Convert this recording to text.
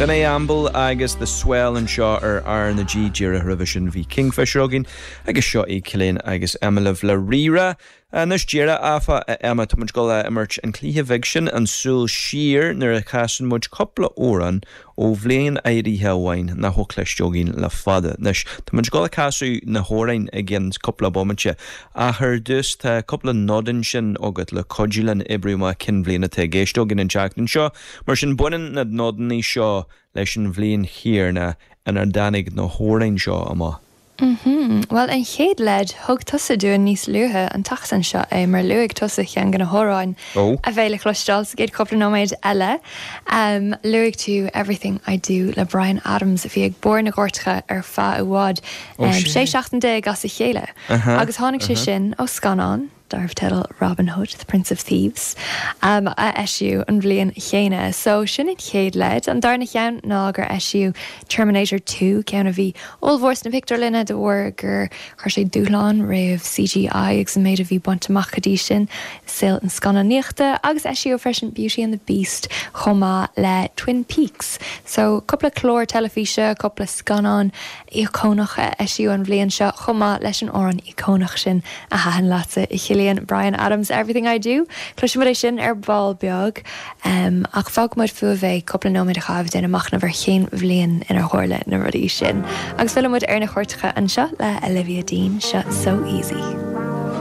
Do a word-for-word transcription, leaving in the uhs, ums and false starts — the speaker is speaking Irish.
B'in é Amble agus The Swell anseo ar R na G. Díreach roimhe sin bhí Kingfisher againn agus seo é Cillian agus Emma le Rírá. Anois díreach áfach, Emma, tá muid ag dul a imirt an cluiche bheag sin, an Súil Siar, nuair a chasann muid cúpla amhrán ó bhliain áirithe amháin nach bhfuil cloiste againn le fada. Anois tá muid ag dul a casadh na hamhráin i gcionn cúpla bomaite ach ar dtús tá cúpla nod ansin agat le cuidiú linn oibriú amach cén bhliain atá i gceist againn an tseachtain seo. Mar sin baineann na nodanna seo leis an bhliain chéanna inar dtáinig na hamhráin seo amach. Mhm. Bhuel, an chéad leid, thug tusa dúinn níos luaithe an tseachtain seo é mar luaigh tusa ceann de na hamhráin Ó. a bheidh le cloisteáil sa gcéad cúpla nóiméad eile. Um, luaigh tú Everything I Do le Bryan Adams a bhí ag barr na gcairteacha ar feadh i bhfad Ó, um, sin. sé seachtain déag as a chéile. Aha, Agus tháinig sé aha. sin ó scannán darbh teideal Robin Hood, The Prince of Thieves, um, a eisíodh an bhliain chéanna. So sin an chéad leid. An darna ceann ná gur eisíodh Terminator two, ceann a bhí ollmhór sna pictiúrlanna de bharr gur chuir sé dúshlán roimh C G I agus an méid a bhí bainte amach go dtí sin saol an scannánaíochta, agus eisíodh freisin Beauty and the Beast chomh maith le Twin Peaks. So cúpla clár teilifíse, cúpla scannán íocónach a eisíodh an bhliain seo chomh maith leis an amhrán íocónach sin a thaitin leatsa, a Chillian, Bryan Adams, Everything I Do. Cloisfimid é sin ar ball beag, um, ach fágfaimid fúibh é cúpla nóiméad a chaitheamh ag déanamh machnamh ar cén bhliain inar tharla na rudaí sin. Agus fillfimid ar na cairteacha anseo le Olivia Dean, seo So Easy.